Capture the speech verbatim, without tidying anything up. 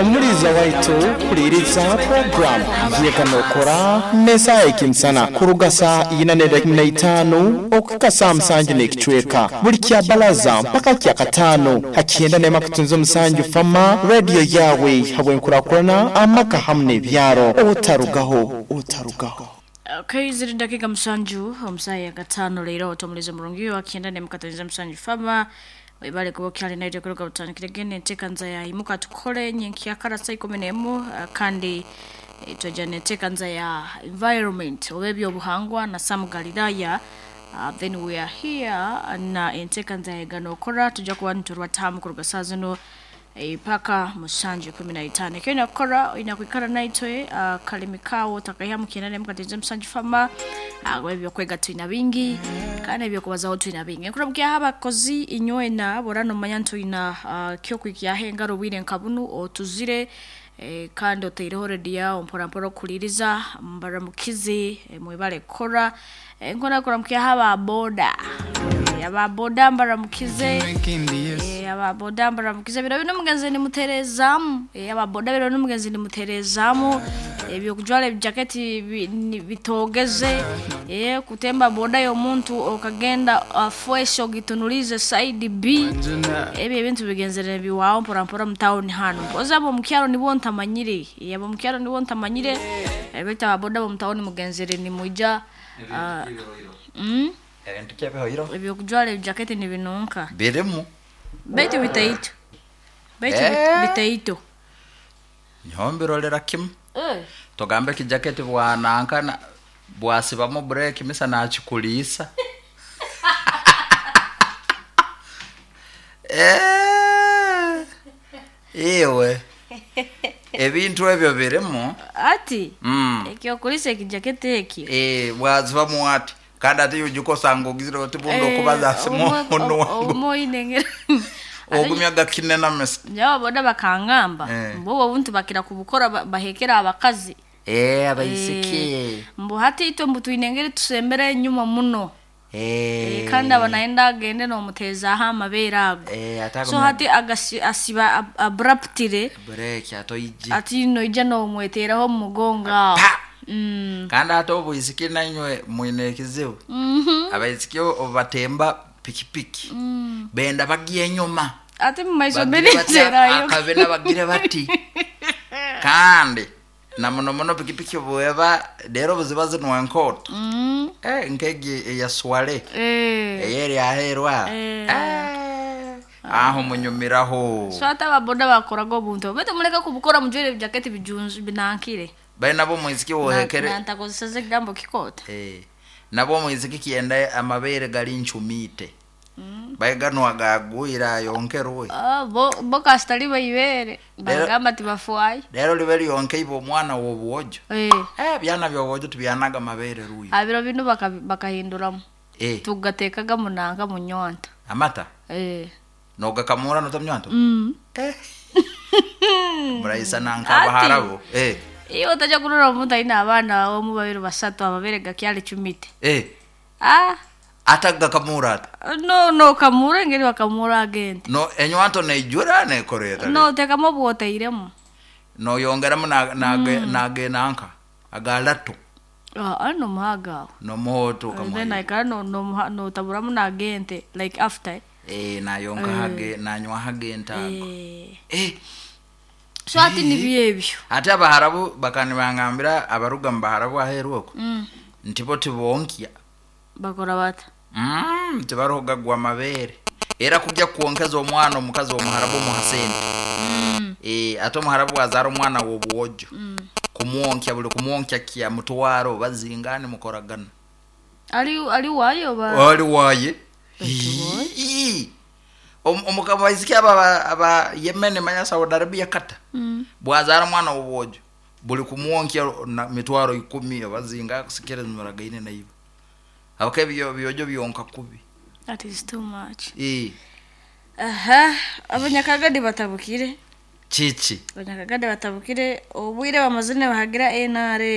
Omuliza waitu kuliriza program yekanokora nesa ekinsana kuruga saa ina na itano okuka saa musanju n'ekicweka buli kya balaza mpaka kya katano hakienda nema kutunza omusanju fama radio yawe habwenkurakurana amaka hamwe n'ebyaro otarugaho otarugaho. Okay, ziri dakika musanju omusaya katano leero otomuliza murungi wakienda nemukataniza musanju fama wibale kuba kyali naite kuruga butandikire gene entekanza ya imuka tukole nyenkyakara saa ikumi n'emu uh, kandi eh, twajja n'entekanza ya environment oba ebyobuhangwa na Sam Galilaya. Uh, then we are here na entekanza ya ganokora tujja kuba niturwatamu kuruga saa zino eh, paka musanju kumi na itano ekyo nakukora olina kwikara naitwe uh, kalimi kawo takaiha mukienda nemukataniza musanju fama uh, ebyokwega tulina bingi kandi ebyokubazaho tulina bingi nkuramukyaho abakozi inywena bora nomanya nti olina uh, kyokwikyaho engaro obwire nka bunu otuzire eh, kandi oteireho rediyo mporampora okuliriza mbaramukizi eh, mwebale kukora eh, nkona kuramukyaho ababoda eh, ababoda mbaramukize eh, ababoda mbaramukize biro bino mugenzi nimuterezamu eh, ababoda biro bino mugenzi nimuterezamu ebyokujwara ebijaketi bi- ni- bitogeze eh, kutemba boda y'omuntu okagenda afresh ogitunulize side B ebyo ebintu bigenzere biwawo mporampora mu town hano mpozi abo mukyaro nibo ntamanyire eh, abo mukyaro nibo ntamanyire eh, baitu ababoda bo mu town mugenzere nimuja ah, mm, Ebintu kyebihoiro ebyokujwara ebijaketi nibinunka birimu baitu bitaito baitu Eh. bitaito niho mbirorera kimu eh. tugambe ekijaketi bwanankana bwasibamu bureki misa nakikuliisa Eh, iwe ebintu ebyo birimu ati mm. ekyokulisa ekijaketi ekyo Eh, bwazibamu ati kandi ate yujuka osanga ogizire oti bundi okubaza simu ono wangu omoinengera ogumya gakinena misa nyawo boda bakangamba Eh. mbu obwo obuntu bakira kubukora ba- bahekera abakazi Eh, abaisiki mbu hati itwe mbu twine engeri tusembere enyuma muno Eh, Eh, kandi aba naye agende nomuteezaho amabeere ago eh, ate so agumya hati agasi- asiba ab- abruptly bureki atoije ati noija nomweteraho omu mugongo awo Pa! Mm. kandi ate obwisiki nanywe mwine ekizibu Mhm. abaisiki obatemba pikipiki benda bagiye enyuma ate mumaiso Bagire bati, benenzerayo akabena bagire bati kandi na muno muno pikipiki bweba rero buziba zinwa enkoto Mm. eh, nkegi eya swale Eh. eyeri aherwa Eh. Eh, aho munyumiraho so ate ababoda bakoraga obuntu obwo baitu muleke kubukora mujwaire ebijaketi bijunzu binankire bali nabo omwisiki wohekere nantakozeseza ekigambo kikota Eh, nabo omwisiki kyenda amabere gali nchumite baiganwa gagwira yonkerwe Ah, bo bo kasitali baibere bagamba tibafwayo rero libe lyonke ibo omwana w'obwojo Eh, eh, byana by'obwojo tubyanaga amabere ruyo abiro bino baka- bakahinduramu eh, tugatekaga munanka munyonta amata Eh. nogakamura notamnywanto Mm. eh. muraisana nkabaharabo eh. Iyo otajja kurora omuntu alina abaana omu babiri basatu amabere gakyali cumite eh. ah atagakamura ata no no kamura engeri bakamura agente no enywanto neijura nekoreta no otekamu obwoteiremu noyongeramu nagenanka agalato ah nomuhaga awo nomuhoto then kamwe aikara no no notaburamu nagente like after eh, nayonka hage nanywa hage ntago eh eh. so ati nibyo ebyo ate abaharabu bakanibangambira abaruga mu baharabu aheru okwo mm. nti bo tibonkya bakora bata mm, tibaruhuga gwa mabere era kujya kwonkeza omwana omukazi omuharabu omuha sente mm. e, ate omuharabu azaara omwana w'obwojo mm. kumwonkya buli kumwonkya kya mutwaro bazingane mukoragana ali ali wayo ba ali waye Batuboye. Ii. Om- omukabaisiki aba aba- aba Yemen manya Saudi Arabia kata mm. bwazaara omwana w'obwojo buli kumwonkya na mitwaro ikumi abazinga kusikiriza muragaine naibo abaka ebyo byojo byonka kubi that is too much Ii. aha abanyakagadi batabukire kiki abanyakagadi batabukire obwire bamazine bahagira N R M.